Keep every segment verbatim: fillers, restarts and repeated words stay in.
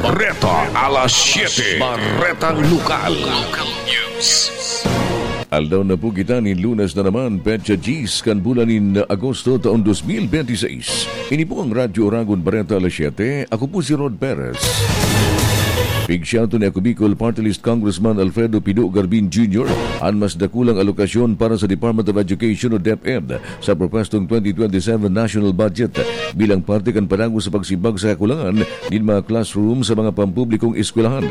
Bareta alas siete. Bareta Lokal. Local News. Aldaw na po kita nin Lunes na naman, petsa diyes kan bulan nin Agosto, taon dos mil benti seis. Ini po ang Radyo Oragon Bareta alas siete. Ako po si Rod Perez. Pigsiato ni Ako Bicol Party List Congressman Alfredo Pido Garbin Junior an mas dakulang alokasyon para sa Department of Education o DepEd sa propwestong twenty twenty-seven national budget bilang parte kan padagos sa pagsimbag sa kakulangan nin mga classroom sa mga pampublikong eskwelahan.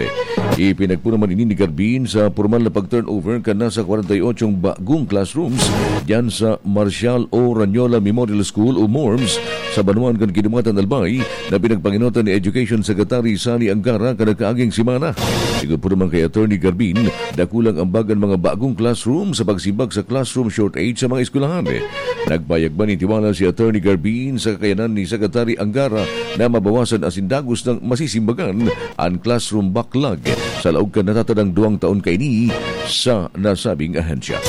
Ipinagpuro man ini ni Garbin sa pormal na pag-turnover kan nasa kwarenta y ocho bagong classrooms diyan sa Marcial O. Ranyola Memorial School o MORMS sa banwaan kan Kidumangan, Albay, na pinagpangenotan ni Education Secretary Sonny Angara kan nagkaaging semana. Sigon po naman kay Attorney Garbin, dakulang ambag an mga bagong classroom sa pagsimbag sa classroom shortage sa mga eskwelahan. Nagpayag man nin tiwala si Attorney Garbin sa kakayanan ni Secretary Angara na mabawasan asin dagos nang masisimbagan an classroom backlog sa laog kan natatadang duwang taon kaini sa nasabing ahensya.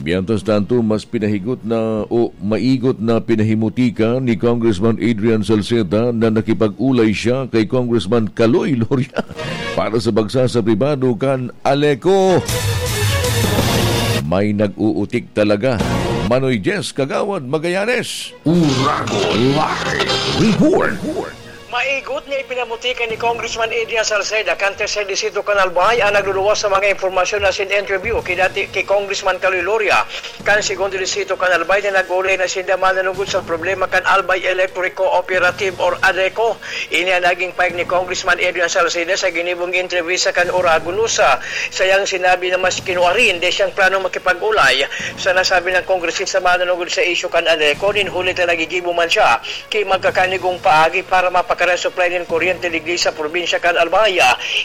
Mientras tanto, mas pinahigot na o maigot na pinahimutika ni Congressman Adrian Salceda na nakipag-ulay siya kay Congressman Kaloy Loria para sa bagsa sa pribado kan Aleco. May nag-uutik talaga. Manoy Jess Kagawad Magallanes. Uragon Live Report. Maigot na ipinamutika ni Congressman Adrian Salceda kan Tercer Distrito kan Albay an nagluluwas sa mga impormasyon na sin interview ki dati ki Congressman Kaloy Loria kan Segundo Distrito kan Albay na nag-ulay na sinda mananugod sa problema kan Albay Electric Cooperative or ADECO. Ini an naging pahayag ni Congressman Adrian Salceda sa ginibong entrevista kan Uragon News. Sa iyang sinabi na mas kinuarin, di siyang planong makipag-ulay sa nasabi ng kongresista mananugod sa isyu kan ADECO, nin huli ta nagigibo man siya ki magkakanigong paagi para mapakaresuplay nin kuryente digdi sa probinsya kan Albay.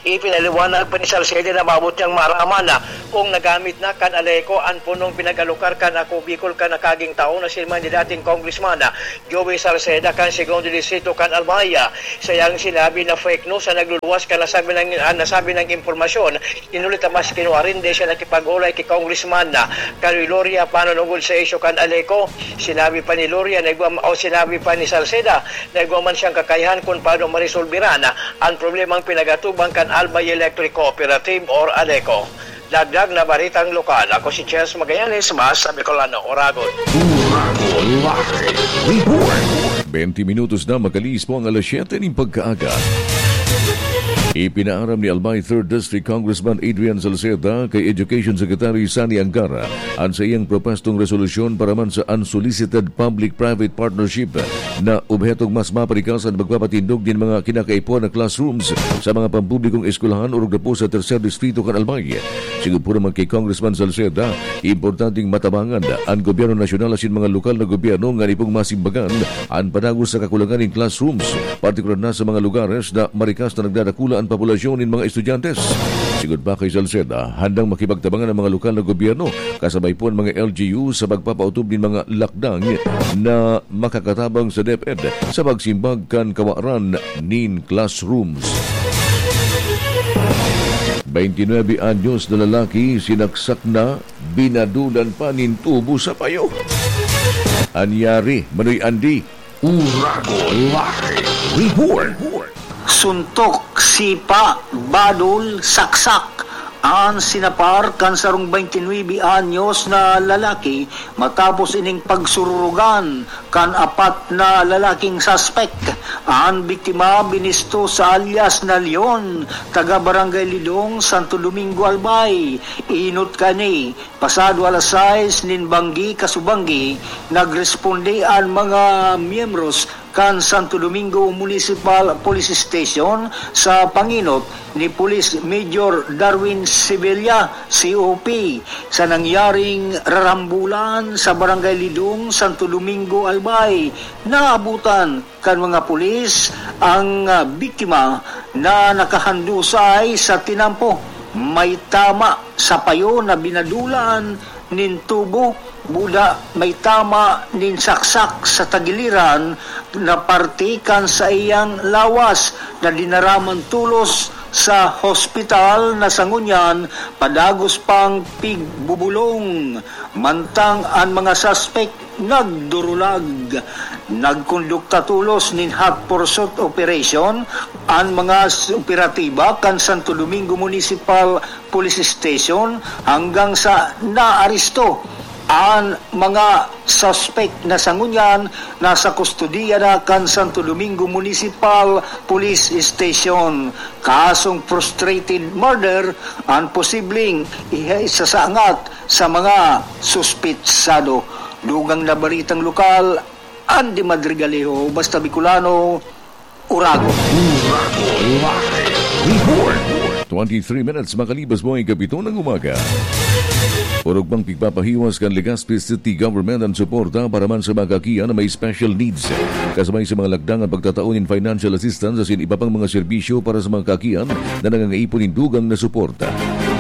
Ipinaliwanag pa ni Salceda na maabot niyang maaraman kung nagamit na kan ADECO an punong pinag-alokar kan Ako Bicol kan nakaging taon na si man ni dating Congressman Joey Salceda kan Segundo Distrito kan Albay. Sa iyang sinabi na fake news ang nagluluwas kan nasabi ng, ang nasabi ng impormasyon. Inulit na mas kinuarin di siya nakipag-ulay ki Congressman Kaloy Loria pananugod sa isyu kan ADECO. Sinabi pa ni Loria na igwa, o sinabi pa ni Salceda na igwa man siyang kakayahan kung paano maresolbiran ang problemang pinagatuban kan Albay Electric Cooperative or ADECO. Dagdag na baritang lokal, ako si Chels Magallanes, mas sa Bicolano, Oragon. Uragon Live Report. Twenty minutos na makaliis po ang alas siyete nin pagkaaga. Ipinaaram ni Albay Third District Congressman Adrian Salceda kay Education Secretary Sonny Angara an sa iyang propwestong resolusyon para man sa unsolicited public-private partnership na obhetong mas maparikas an pagpapatindog nin mga kinakaipuhan na classrooms sa mga pampublikong eskwelahan orog na po sa Tercer Distrito kan Albay. Sigon po naman kay Congressman Salceda, importanteng matabangan an gobyerno nasyonal asin mga lokal na gobyerno ngani pong masimbagan an padagos sa kakulangan nin classrooms, partikular na sa mga lugares na marikas na nagdadakula an populasyon nin mga estudyante. Sigon pa kay Salceda, handang makipagtabangan ang mga lokal na gobyerno kasabay po ang mga L G U sa pagpapautob nin mga lakdang na makakatabang sa DepEd sa pagsimbag kan kawaran nin classrooms. Twenty-nine anyos na lalaki sinaksak na, binadulan pa nin tubo sa payo. Anyari, Manoy Andy. Uragon Live Report. Suntok, sipa, badol, saksak an sinapar kan sarong twenty-nine anyos na lalaki matapos ining pagsururugan kan apat na lalaking suspek. An biktima binisto sa alias na Leon, taga Barangay Lidong, Santo Domingo, Albay. Inot kani, pasado alas sais nin banggi kasubanggi, nagresponde an mga miyembros kan Santo Domingo Municipal Police Station sa panginot ni Police Major Darwin Sevilla, C O P, sa nangyaring rarambulan sa Barangay Lidong, Santo Domingo, Albay. Naabutan kan mga pulis ang, ah, biktima na nakahandusay sa tinampo. May tama sa payo na binadulan nin tubo, buda may tama nin saksak sa tagiliran na parte kan saiyang lawas na dinaraman tolos Sa hospital na sa ngunyan, padagos pang pigbubulong, mantang an mga suspek nagdurulag. Nagkondukta tolos nin hot pursuit operation an mga s-, operatiba kan Santo Domingo Municipal Police Station hanggang sa naaresto an mga suspek na sa ngunyan nasa kustodiya na kan Santo Domingo Municipal Police Station. Kasong frustrated murder an posibleng iha-, isasangat sa mga suspetsado. Dugang na baritang lokal, Andy Madrigalejo, Basta Bicolano, Uragon. Uragon Live Report. Twenty-three minutes makalipas po ang ikapito ng umaga. Orog pang pigpapahiwas kan Legazpi City Government ang suporta para man sa mga kakian na may special needs. Kasabay sa mga lakdangan pagtatao nin financial assistance asin iba pang mga serbisyo para sa mga kakian na nangangaipon nin dugang na suporta.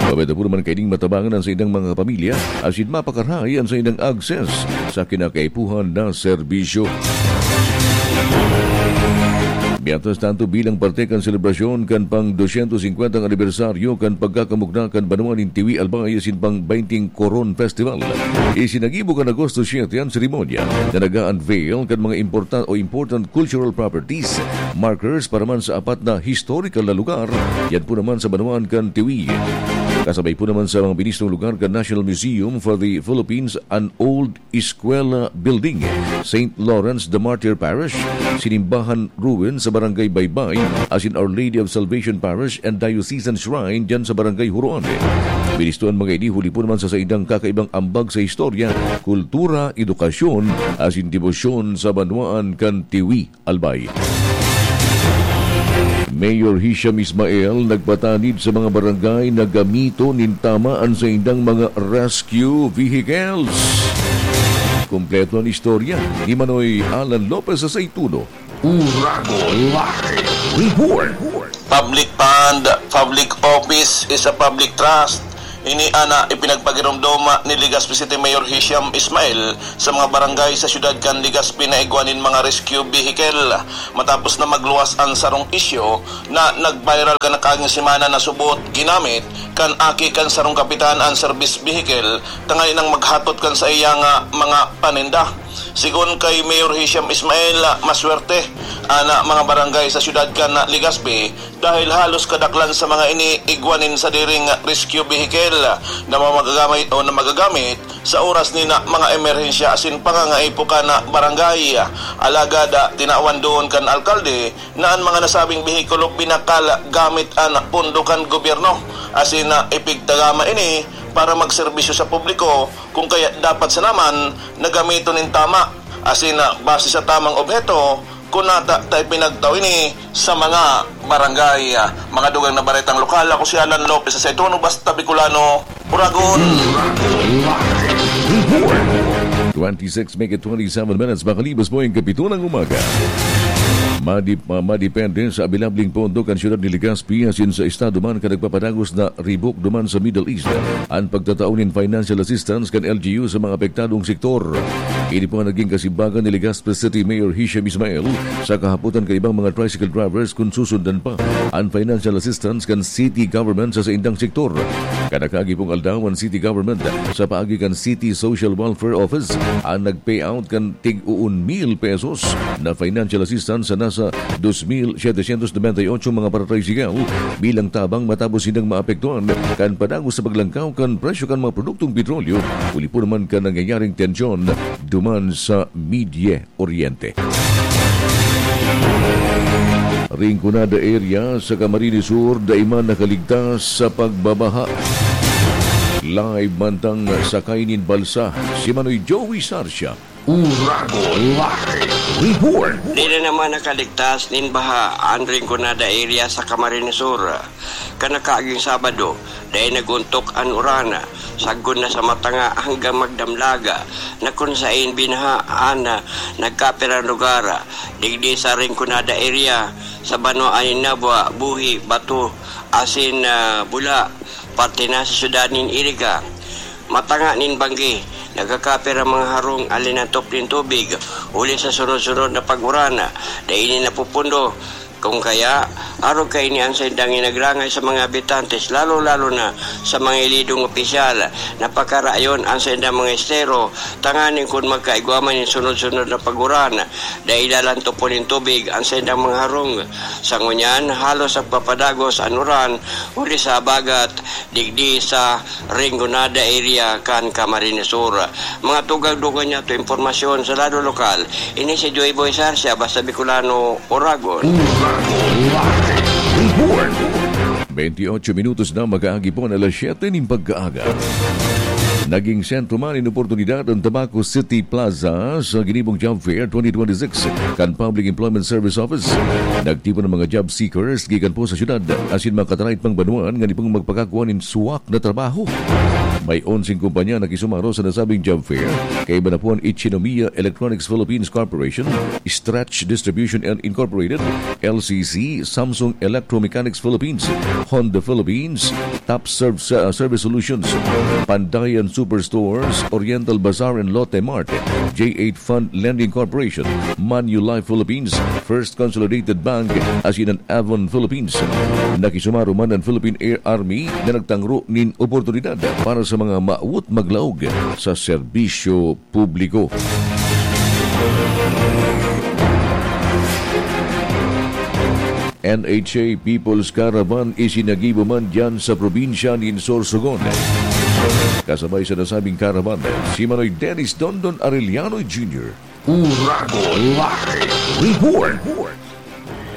Pabeda po naman kaining matabangan ang sa ilang mga pamilya asin mapakarahay ang sa ilang access sa kinakaipuhan na serbisyo. Mientras tanto, bilang parte kan selebrasyon kan pang dosyentos singkwentang anibersaryo kan pagkakamugna kan banwa nin Tiwi, Albay asin pang baynting Coron Festival, isinagibo kan Agosto siete an seremonya na nag-a-unveil kan mga importan-, o important cultural properties, markers para man sa apat na historical na lugar, yan po naman sa banwaan kan Tiwi. Kasabay po naman sa mga binistong lugar kan National Museum for the Philippines, an old Eskwela Building, Saint Lawrence de Martyr Parish, sinimbahan ruin sa Barangay Baybay, asin Our Lady of Salvation Parish and Diocesan Shrine diyan sa Barangay Huroan. Binisto an mga ini huli po naman sa saindang kakaibang ambag sa istorya, kultura, edukasyon, asin debosyon sa banwaan kan Tiwi, Albay. Mayor Hisham Ismael nagpatanid sa mga barangay na gamiton nin tama an saindang mga rescue vehicles. Kompleto an istorya ni Manoy Alan Lopez sa Saituno. Uragon Live Report. Public fund, public office is a public trust. Ini an ipinagpagiromdom ni Legazpi City Mayor Hisham Ismail sa mga barangay sa siyudad kan Legazpi na igwa nin mga rescue vehicle. Matapos na magluwas an sarong isyu na nag-viral kan nakaaging semana na subot ginamit kan aki kan sarong kapitan an service vehicle tanganing maghatod kan saiya nga mga paninda. Sigon kay Mayor Hisham Ismail, maswerte an mga barangay sa siyudad kan Legazpi dahil halos kadaklan sa mga ini igwa nin sadiring rescue vehicle na mamagamit o na magagamit sa oras nin mga emerhensya asin pangangaipo kan barangay. Alagad, ah, tinawan doon kan alkalde na an mga nasabing behikulo binakal gamit an pondo kan gobyerno asin, ah, ipigtagama ini para magserbisyo sa publiko, kung kaya dapat sana man na gamiton nin tama asin, ah, base sa tamang obheto, kun nata ta ipinagtao ini sa mga barangay. Mga dugang na baretang lokal, ako si Alan Lopez sa Saituno, Basta Bicolano, Uragon. Twenty-six make it twenty-seven minutes, makalipas po ang kapito ng umaga. Madip-, ma-, madepende sa abilabling pondo kan siyudad ni Legazpi asin sa estado man kan nagpapadagos na ribok duman sa Middle East an pagtatao nin financial assistance kan L G U sa mga apektadong sektor. Ini po ang naging kasimbagan ni Legazpi City Mayor Hisham Ismail sa kahapotan kan ibang mga tricycle drivers kun susundan pa an financial assistance kan city government sa saindang sektor. Kan nakaagi pong aldaw, an city government sa paagi kan City Social Welfare Office an nag-payout kan tig-uon mil pesos na financial assistance sa nasa dos mil setecientos noventa y ocho mga paratricycle bilang tabang matapos silang maapektuhan kan padagos sa paglangkaw kan presyo kan mga produktong petrolyo, huli po naman kan nangyayaring tensyon duman sa Middle Oriente. Rinconada area sa Camarines Sur, dai man nakaligtas sa pagbabaha. Live mantang sakay nin balsa, si Manoy Joey Sarsia. Uragon Live Report. Di na naman nakaligtas nin baha an Rinconada area sa Camarines Sur. Kan nakaaging Sabado, dai nag-ontok an uran, sagkod na sa Matanga hanggang Magdamlag, na kun saen binaha an nagkapirang lugar, digdi sa Rinconada area, sa banwaan nin Nabua, Buhi, Bato, asin, ah, Bula, parte na sa syudad nin Iriga. Matanga nin Banggi, nagkakapirang mga harong an linantop nin tubig, huli sa sunod-sunod na pag-uran, dai ini napupundo, Kung kaya, arog kaini an saindang inagrangay sa mga habitantes, lalo-lalo na sa mga ilidong opisyal na pakarayon an saindang mga estero, tanganing kun magkaigwa man nin sunod-sunod na paguran, dai lalantopon nin tubig an saindang mga harong. Sa ngunyan, halos nagpapadagos an uran huli sa habagat digdi sa Rinconada area kan Camarines Sur. Mga tugang-dugang niya to impormasyon sa lado lokal. Ini si Joy Boy Sarsia, Basta Bicolano, Oragon. Report. Twenty-eight minutos na makaagi po na alas siyete nin pagkaaga. Naging sentro man nin oportunidad ang Tabaco City Plaza sa ginibong Job Fair twenty twenty-six kan Public Employment Service Office. Nagtipon ang mga job seekers gikan po sa syudad asin mga katarait pang banwaan ngani pong magpakakua nin suwak na trabaho. May onseng kumpanya na kisumaro sa nasabing job fair, kaiba na po an Ichinomiya Electronics Philippines Corporation, Stretch Distribution Incorporated, L C C, Samsung Electromechanics Philippines, Honda Philippines, Top Serve Sa-, Service Solutions, Pandayan Superstores, Oriental Bazaar and Lotte Mart, J eight Fund Lending Corporation, Manulife Philippines, First Consolidated Bank, asin an Avon Philippines. Nakisumaro man an Philippine Air Army na nagtangro nin oportunidad para sa mga maawot maglaog sa serbisyo publiko. N H A People's Caravan isinagibo man diyan sa probinsya nin Sorsogon. Kasabay sa nasabing caravan, si Manoy Dennis Dondon Arellano Junior. Uragon Live Report.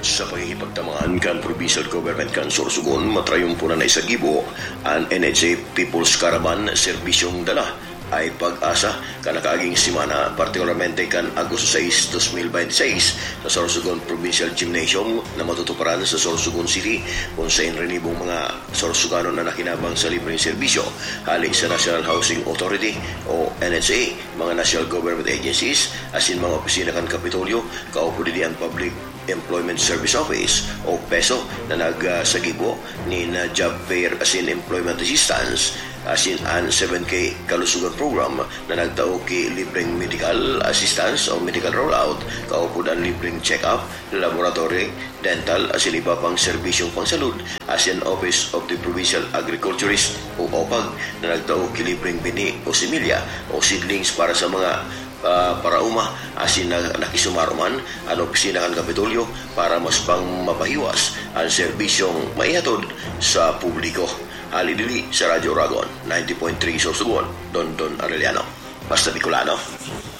Sa pagkikipagtamaan kan Provincial Government kan Sorsogon, matrayumpo na naisagibo an N H A People's Caravan, Serbisyong Dala Ay Pag-asa, kan nakaaging semana, partikularmente kan Agosto sais, dos mil bente seis, sa Sorsogon Provincial Gymnasium na matutuparan sa Sorsogon City, kun saen rinibong mga Sorsoganon an nakinabang sa libreng serbisyo hale sa National Housing Authority o N H A, mga national government agencies, asin mga opisina kan Kapitolyo, kaupod digdi an Public Employment Service Office o PESO na nagsagibo nin job fair asin employment assistance, asin an seven K Kalusugan Program na nagtao ki libreng medical assistance o medical rollout, kaupod an libreng check-up, laboratory, dental, asin iba pang serbisyong pangsalud, asin Office of the Provincial Agriculturist o OPAG na nagtao ki libreng binhi o similya o seedlings para sa mga, ah, paraoma, asin na, nakisumaro man an opisina kan Kapitolyo para mas pang mapahiwas an serbisyong maihatod sa publiko. Hale digdi sa Radyo Oragon, ninety point three Sorsogon, Dondon Arellano. Basta Bicolano,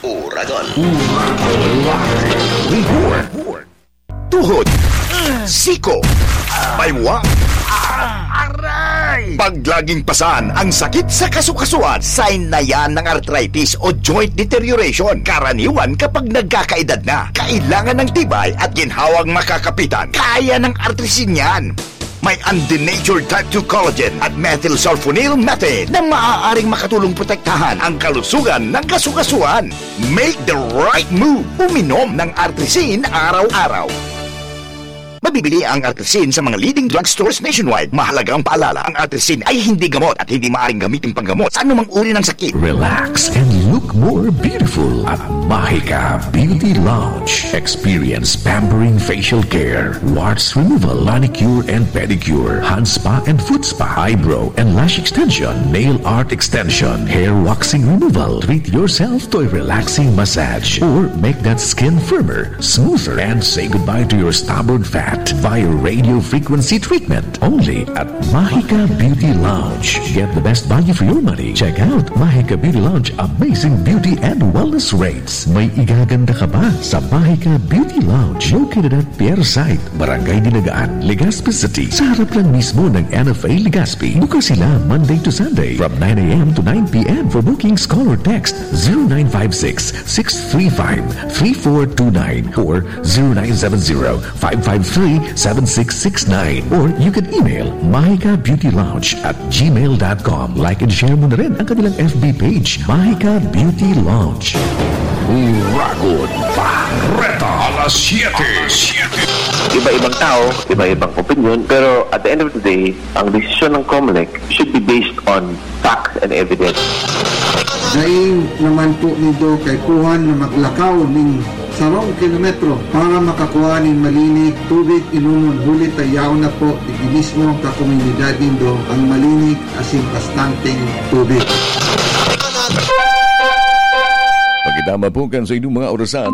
Oragon. Report. Tuhod, siko, baywa, aray! Pag laging pasan ang sakit sa kasukasuan, sign na yan ng arthritis o joint deterioration. Karaniwan kapag nagkakaedad na, kailangan ng tibay at ginhawang makakapitan. Kaya ng Artrisin yan. May undenatured type two collagen at methylsulfonyl methane na maaaring makatulong protektahan ang kalusugan ng kasukasuan. Make the right move. Uminom ng Artrisin araw-araw. Mabibili ang Artrisin sa mga leading drugstores nationwide. Mahalagang paalala, ang Artrisin ay hindi gamot at hindi maaaring gamitin panggamot sa anumang uri ng sakit. Relax and look more beautiful at Mahika Beauty Lounge. Experience pampering facial care, warts removal, manicure and pedicure, hand spa and foot spa, eyebrow and lash extension, nail art extension, hair waxing removal. Treat yourself to a relaxing massage or make that skin firmer, smoother, and say goodbye to your stubborn fat via radio frequency treatment. Only at Mahika Beauty Lounge. Get the best value for your money. Check out Mahika Beauty Lounge amazing beauty and wellness rates. May igaganda ka ba sa Mahika Beauty Lounge? Located at Pier Site, Barangay Dinagaan, Legazpi City, sa harap lang mismo ng N F A Legazpi. Bukas sila Monday to Sunday from nine a m to nine p m. For bookings, call or text zero nine five six, six three five, three four two nine or zero nine seven zero, five five three, seven six six nine. Or you can email mahika beauty lounge at gmail dot com. Like and share mo na rin ang kanilang F B page, Mahika Beauty Lounge. Uragon Bareta, alas siyete. Iba-ibang tao, iba-ibang opinion, pero at the end of the day, ang desisyon ng Comelec should be based on facts and evidence. Dai naman po nindo kaipuhan na maglakaw ning sarong kilometro para makakuha nin malinig tubig inomon, huli ta yaon na po digdi mismo sa komunidad nindo ang malinig asin bastanteng tubig. Pagitama po kan sa inyong mga orasan,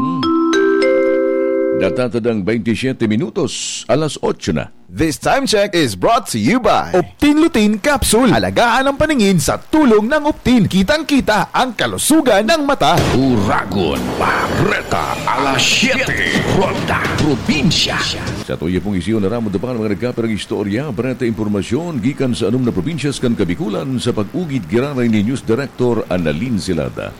natatadang twenty-seven minutos, alas otso na. This time check is brought to you by Optin Lutein Capsule. Alagaan ang paningin sa tulong ng Optin. Kitang-kita ang kalusugan ng mata. Uragon, Barreta, alas siyete, Ronda, Probinsya. Sa tuya pong isiyo na ramo pa mga nagkapirang istorya, bareta impormasyon gikan sa anom na probinsyas kan Kabikulan sa pag-ugid giraray ni News Director Annalyn Silada.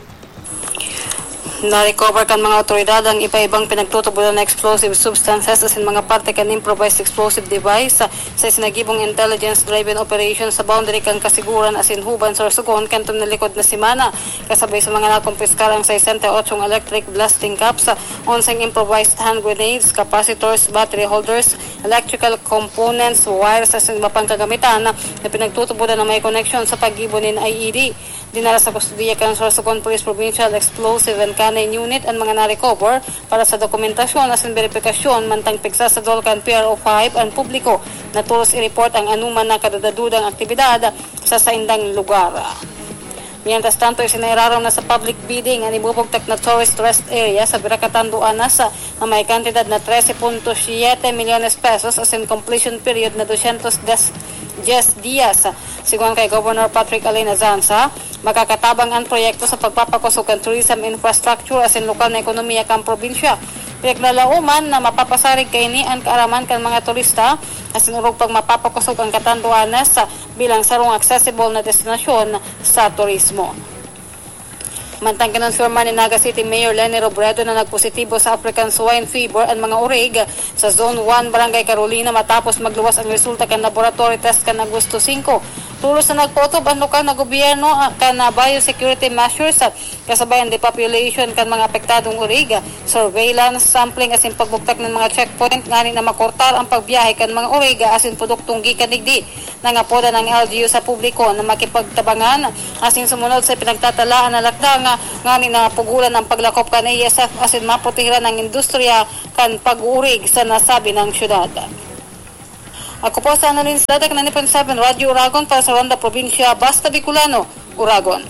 Na-recover kan mga otoridad ang iba-ibang pinagtutubodan na explosive substances asin mga parte kan improvised explosive device sa isinagibong intelligence-driven operation sa boundary kan Kasiguran asin Huban, Sorsogon, kanto na likod na semana. Kasabay sa mga nakumpiskar ang sesenta y ocho electric blasting caps, onseng improvised hand grenades, capacitors, battery holders, electrical components, wires asin iba pang kagamitan na pinagtutubodan na may koneksyon sa paggibo nin I E D. Dinara sa kustodiya kan Sorsogon Police Provincial Explosive and Canine Unit an mga na-recover para sa dokumentasyon asin beripikasyon, mantang pigsasadol kan P R O five an publiko na tolos i-report ang anuman na kadudadudang aktibidad sa saindang lugar. Mientras tanto, isinairarom na sa public bidding an ibubugtak na tourist rest area sa Biracatan Duanas na may kantidad na trese punto siyete milyones pesos asin completion period na dosyentos diyes diyas. Sigon kay Governor Patrick Alain Azanza, makakatabang an proyekto sa pagpapakosog kan tourism infrastructure asin lokal na ekonomiya kan probinsya. Pinaglalaoman na mapapasarig kaini an kaaraman kan mga turista asin orog pang mapapakosog ang Catanduanes bilang sarong accessible na destinasyon sa turismo. Mantang kinonfirma ni Naga City Mayor Leni Robredo na nagpositibo sa African Swine Fever an mga orig sa Zone one, Barangay Carolina, matapos magluwas ang resulta kan laboratory test kan Agosto singko. Tolos na nagpaotob an lokal na gobyerno, ah, kan, ah, biosecurity measures, ah, kasabay an depopulation kan mga apektadong orig, surveillance, sampling asin pagbugtak nin mga checkpoint ngani na makortar ang pagbiyahe kan mga orig asin produktong gikan digdi. Nangapodan ang L G U sa publiko na makipagtabangan asin sumunod sa pinagtatalaan na lakdang, ngani na pugulan ang paglakop kan A S F asin maprotehiran ang industriya kan pag-uurig sa nasabing syudad. Ako po sa Annalyn Sladak, ninety point seven Radyo Uragon para sa Ronda Probinsya, Basta Bicolano, Uragon.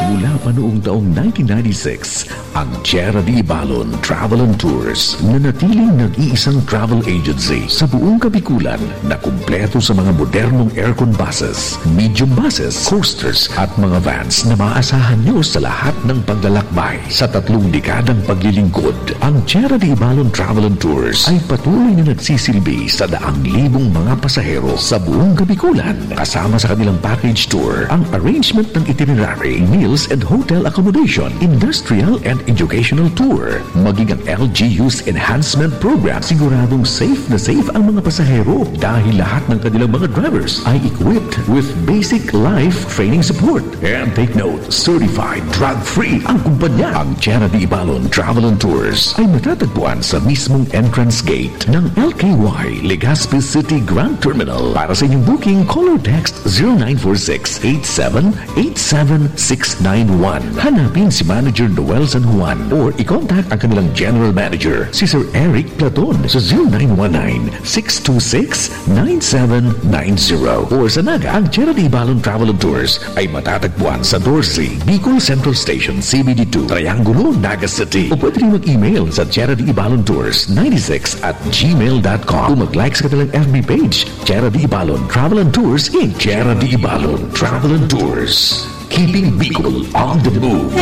Mula pa noong taong nineteen ninety-six, ang Tierra de Ibalon Travel and Tours, nanatiling nag-iisang travel agency sa buong Kabikulan na kumpleto sa mga modernong aircon buses, medium buses, coasters at mga vans na maaasahan nyo sa lahat ng paglalakbay. Sa tatlong dekadang paglilingkod, ang Tierra de Ibalon Travel and Tours ay patuloy na nagsisilbi sa daang libong mga pasahero sa buong Kabikulan, kasama sa kanilang package tour, ang arrangement ng itinerary, meals and hotel accommodation, industrial and educational tour, maging ang L G U's enhancement program. Siguradong safe na safe ang mga pasahero dahil lahat ng kanilang mga drivers ay equipped with basic life training support. And take note, certified drug-free ang kumpanya. Ang Tierra de Ibalon Travel and Tours ay matatagpuan sa mismong entrance gate ng L K Y Legazpi City Grand Terminal. Para sa inyong booking, call or text zero nine four six eight seven eight seven six nine one. Hanapin si Manager Noel San Juan or i-contact ang kanilang General Manager, si Sir Eric Platon, sa zero nine one nine six two six nine seven nine zero. Or sa Naga, ang Tierra de Ibalon Travel and Tours ay matatagpuan sa doce, Bicol Central Station, C B D two, Triangulo, Naga City. O pwede rin mag-email sa Tierra de Ibalon Tours ninety-six at gmail dot com o mag-like sa kanilang F B page, Tierra de Ibalon Travel and Tours, Inc. Tierra de Ibalon Travel and Tours. Keeping Bicol on the move.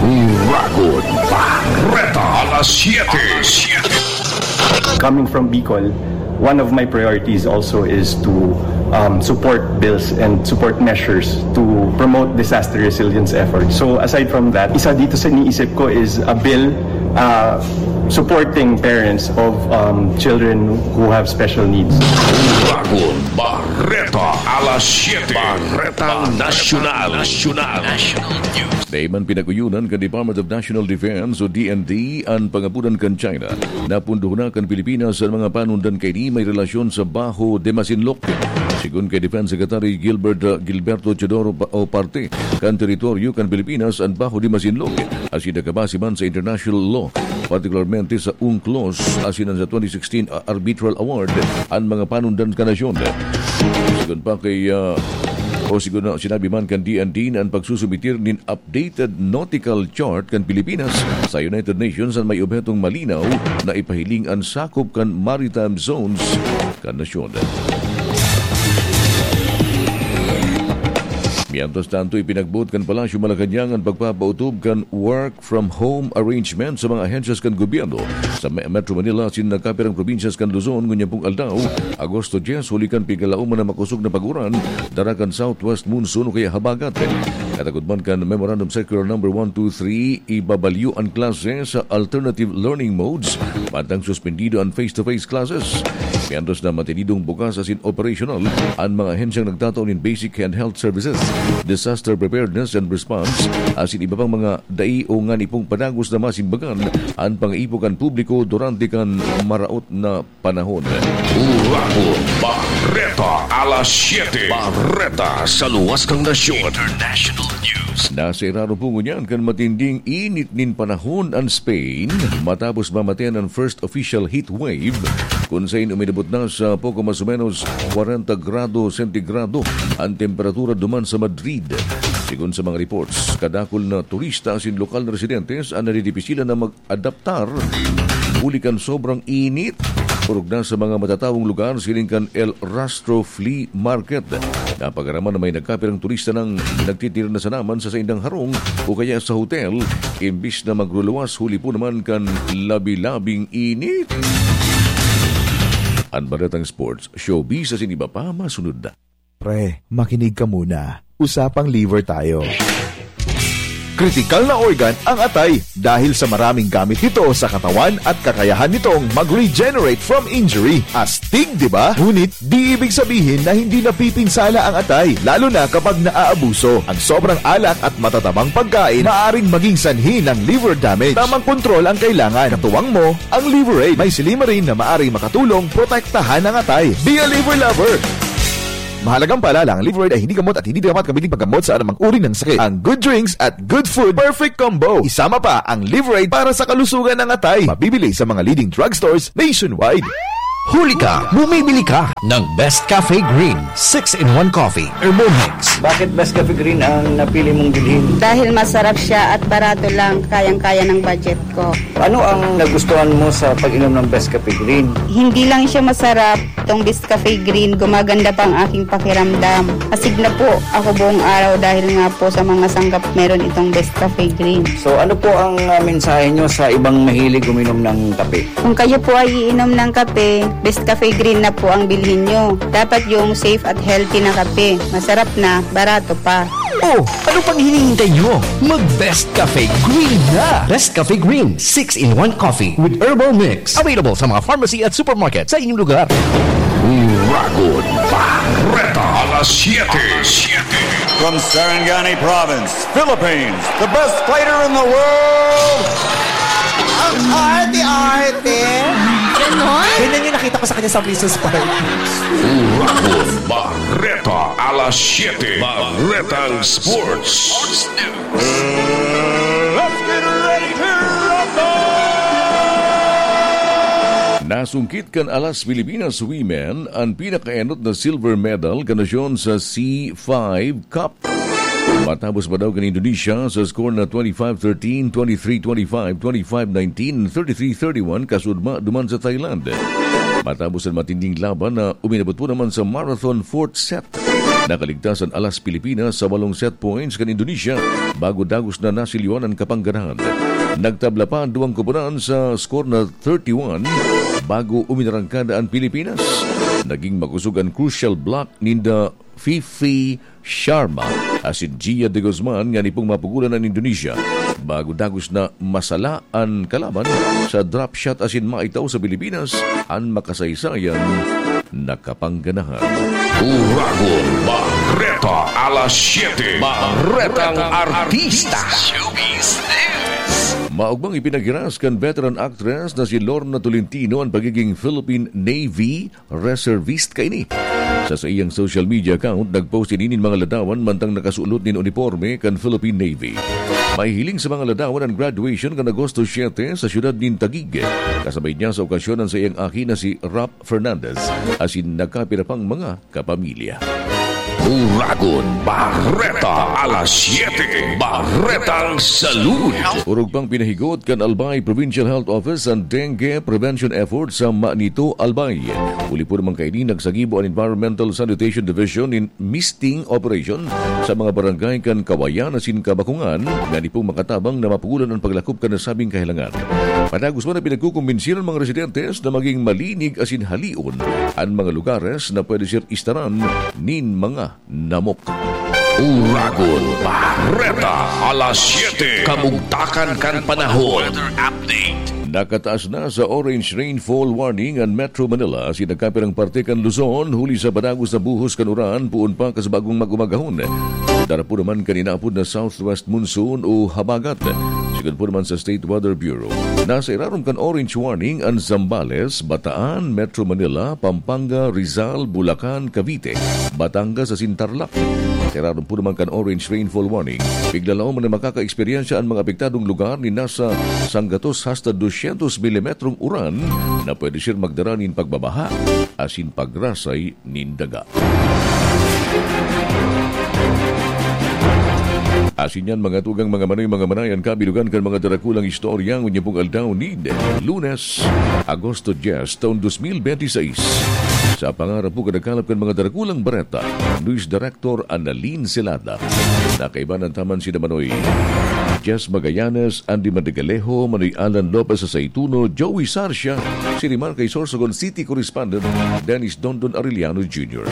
Uragon, Barreta, alas siyete. Coming from Bicol, one of my priorities also is to, um, support bills and support measures to promote disaster resilience efforts. So aside from that, isa dito sa iniisip ko is a bill, uh, supporting parents of, um, children who have special needs. Uragon, Barreta, alas siyete. Barretang Nasyonal. Nasyonal. National News. Dai man pinag-uyunan kan Department of National Defense o D N D an pangapodan kan China na pundohon na kan Pilipinas an mga panundan kaini may relasyon sa Baho de Masinloc. Sigon kay Defense Secretary Gilbert, uh, Gilberto Teodoro pa-, o parte kan teritoryo kan Pilipinas an Baho de Masinloc, asin nakabase man sa international law, partikularmente sa unclos asin an sa twenty sixteen, uh, arbitral award an mga panundan kan nasyon. Sigon pa kay, uh, o sigon na sinabi man kan D N D na an pagsusumitir nin updated nautical chart kan Pilipinas sa United Nations an may obhetong malinaw na ipahiling an sakop kan maritime zones kan nasyon. Mientras tanto, ipinagboot kan Palasyo Malacañang an pagpapautob kan work from home arrangement sa mga ahensyas kan gobyerno sa Me-, Metro Manila asin nagkapirang probinsyas kan Luzon ngunyan pong aldaw, Agosto diyes, huli kan pigkalaoman na makosog na pag-uran dara kan southwest monsoon o kaya habagat. Katagod man kan Memorandum Circular Number one two three, ibabalyo an klase sa alternative learning modes, mantang suspendido an face-to-face classes. Mientras na mantenidong bukas asin operasyonal an mga ahensyang nagtatao nin basic and health services, disaster preparedness and response, asin iba pang mga dai o ngani pong padagos na masimbagan an pangaipo kan publiko durante kan maraot na panahon. Uragod Bareta, alas siyete. Bareta sa luwas kan nasyon. International News. Nasa irarom po ngunyan kan matinding init nin panahon an Spain, matapos mamatean an first official heat wave, kun sain uminabot na sa poko mas o menos kwarenta grado sentigrado an temperatura duman sa Madrid. Sigon sa mga reports, kadakul na turista asin lokal na residentes an nadidipisilan na mag-adaptar huli kan sobrang init. Orog na sa mga matatawong lugar siring kan El Rastro Flea Market. Napagaraman na may nagkapirang turista nang nagtitira na sanaman sa saindang harong o kaya sa hotel, imbis na magluluwas huli po naman kan labi-labing init. An baretang sports, showbiz asin iba pa masunod na. Pre, makinig ka muna. Usapang liver tayo. Kritikal na organ ang atay dahil sa maraming gamit nito sa katawan at kakayahan nitong mag-regenerate from injury. Astig, di ba? Ngunit, di ibig sabihin na hindi napipinsala ang atay, lalo na kapag naaabuso. Ang sobrang alak at matatabang pagkain maaring maging sanhi ng liver damage. Tamang kontrol ang kailangan. Katuwang mo ang Liver Aid. May silymarin na maaring makatulong protektahan ang atay. Be a liver lover! Mahalagang paalala, ang Liver Aid ay hindi gamot at hindi dapat gamitin paggamot sa anumang uri ng sakit. Ang good drinks at good food, perfect combo. Isama pa ang Liver Aid para sa kalusugan ng atay. Mabibili sa mga leading drugstores nationwide. Huli ka, bumibili ka ng Best Cafe Green six-in-one Coffee Herbal Mix. Bakit Best Cafe Green ang napili mong bilhin? Dahil masarap siya at barato lang, kayang-kaya ng budget ko. Ano ang nagustuhan mo sa pag-inom ng Best Cafe Green? Hindi lang siya masarap, itong Best Cafe Green, gumaganda pa ang aking pakiramdam. Astig na po ako buong araw dahil nga po sa mga sanggap meron itong Best Cafe Green. So, ano po ang, ah, mensahe nyo sa ibang mahilig uminom ng kape? Kung kayo po ay iinom ng kape, Best Cafe Green na po ang bilhin nyo. Dapat yung safe at healthy na kape. Masarap na, barato pa. Oh, ano pang hinihintay nyo? Mag Best Cafe Green na! Best Cafe Green, six-in-one Coffee with Herbal Mix. Available sa mga pharmacy at supermarket sa inyong lugar. Uragod Bareta, alas siyete. From Sarangani Province, Philippines, the best fighter in the world. Ang arte-arte. Ganon? Ganyan yung nakita ko sa kanya sa Missus Park. Uragod Bareta, alas siyete. Baretang Sports. Let's get ready to rumble! Nasungkit kan Alas Pilipinas Women an pinakaenot na silver medal kan nasyon sa C five Cup. Matapos madaog kan Indonesia sa score na twenty-five thirteen, twenty-three twenty-five, twenty-five nineteen, thirty-three thirty-one, kasudma duman sa Thailand. Matapos an matinding laban na uminabot po naman sa marathon fourth set, nakaligtas an Alas Pilipinas sa walong set points kan Indonesia bago dagos na nasilyoan an kapangganahan. Nagtabla pa an duwang koponan sa score na thirty-one bago uminarangkada an Pilipinas. Naging makusog an crucial block ninda Fifi Sharma asin Gia de Guzman ngani pong mapugolan an Indonesia, bago dagos na masala an kalaban sa drop shot asin maitaw sa Pilipinas an makasaysayan na kapangganahan. Uragon Bareta, alas siyete, Baretang Artista. Showbiz News. Maogmang ipinaghiras kan veteran actress na si Lorna Tolentino an pagiging Philippine Navy reservist kaini. Sa saiyang social media account, nag-post ini nin mga ladawan mantang nakasuot nin uniporme kan Philippine Navy. Mahihiling sa mga ladawan an graduation kan Agosto siete sa siyudad nin Taguig. Kasabay niya sa okasyon an saiyang aki na si Rap Fernandez, asin nagkapira pang mga kapamilya. Uragon Bareta alas siyete, Baretang Salud. Orog pang pinahigot kan Albay Provincial Health Office an dengue prevention effort sa Manito, Albay. Huli po naman kaini, nagsagibo an Environmental Sanitation Division nin misting operation sa mga barangay kan Kawayan asin Kabakungan, ngani pong makatabang na mapugulan an paglakop kan nasabing kahelangan. Padagos man na pinagkukumbinsi an mga residentes na maging malinig asin halion an mga lugares na pwede sir istaran nin mga namok. Uragon Bareta, alas siyete. Kamugtakan kan panahon. Weather update. Nakataas na sa orange rainfall warning an Metro Manila asin nagkapirang parte kan Luzon huli sa padagos na buhos kan uran poon pa kan bagong mag-umagahon. Dara po naman kan inaapod na southwest monsoon o habagat. Sigon po naman sa State Weather Bureau, nasa irarom kan orange warning an Zambales, Bataan, Metro Manila, Pampanga, Rizal, Bulacan, Cavite, Batangas asin Tarlac. Sa irarom po naman kan orange rainfall warning, piglalaom na makakaeksperyensya an mga apektadong lugar nin nasa sanggatos hasta dosyentos milimetrong uran na pwede sir magdara nin pagbabaha asin pagrasay nin daga. Asin yan, mga tugang, mga manoy, mga manay, an kabilugan kan mga darakulang istorya ngunyan pong aldaw nin Lunes, Agosto dyes, taon dos mil benti seis. Sa pangarap po kadakalap kan mga darakulang bareta, News Director Annalyn Celada. Nakaiba na taman si Manoy Jess Magallanes, Andy Madrigalejo, Manoy Alan Lopez sa Saituno, Joey Sarcia, si Rimarca Sorsogon City Correspondent, Dennis Dondon Arellano Junior.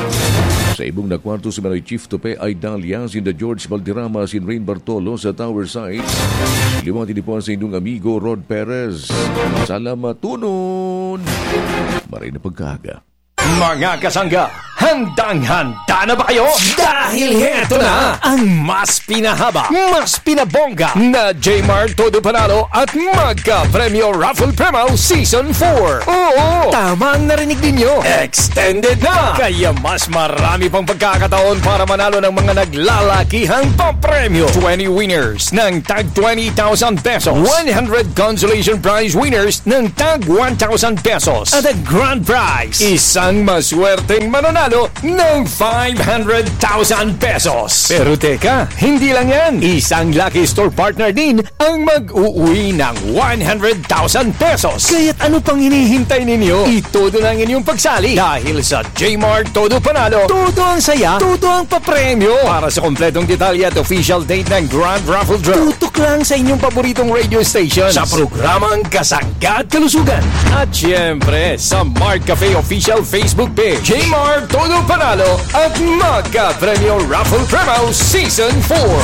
Sa ibong na kwarto si Manoy Chief Tope Aidalia, sinda George Valderrama, sin Rain Bartolo sa Tower Side. Liwati ni po sa inyong amigo Rod Perez. Salamatunon! Maray na pagkaaga. Mga kasangga, handang-handa na ba kayo? Dahil heto na ang mas pinahaba, mas pinabongga na Jmar Todo Panalo at Magka Premyo Raffle Promo Season four. Oo, tama ang narinig ninyo. Extended na! Kaya mas marami pang pagkakataon para manalo ng mga naglalakihang papremyo. Twenty winners ng tag twenty thousand pesos. One hundred consolation prize winners ng tag one thousand pesos. At ang grand prize, isang maswerteng mananalo ng five hundred thousand pesos. Pero teka, hindi lang yan. Isang lucky store partner din ang mag-uwi ng one hundred thousand pesos. Kaya't ano pang hinihintay ninyo? Itodo na ang inyong pagsali dahil sa Jmar Todo Panalo, todo ang saya, todo ang papremyo. Para sa kompletong detalye at official date ng Grand Raffle Draw, tutok lang sa inyong paboritong radio station. Sa programang Kasangga at Kalusugan. At siyempre, sa Mart Cafe Official Facebook Page. Jmar Todo Panalo at Magka Premyo Raffle Promo Season four.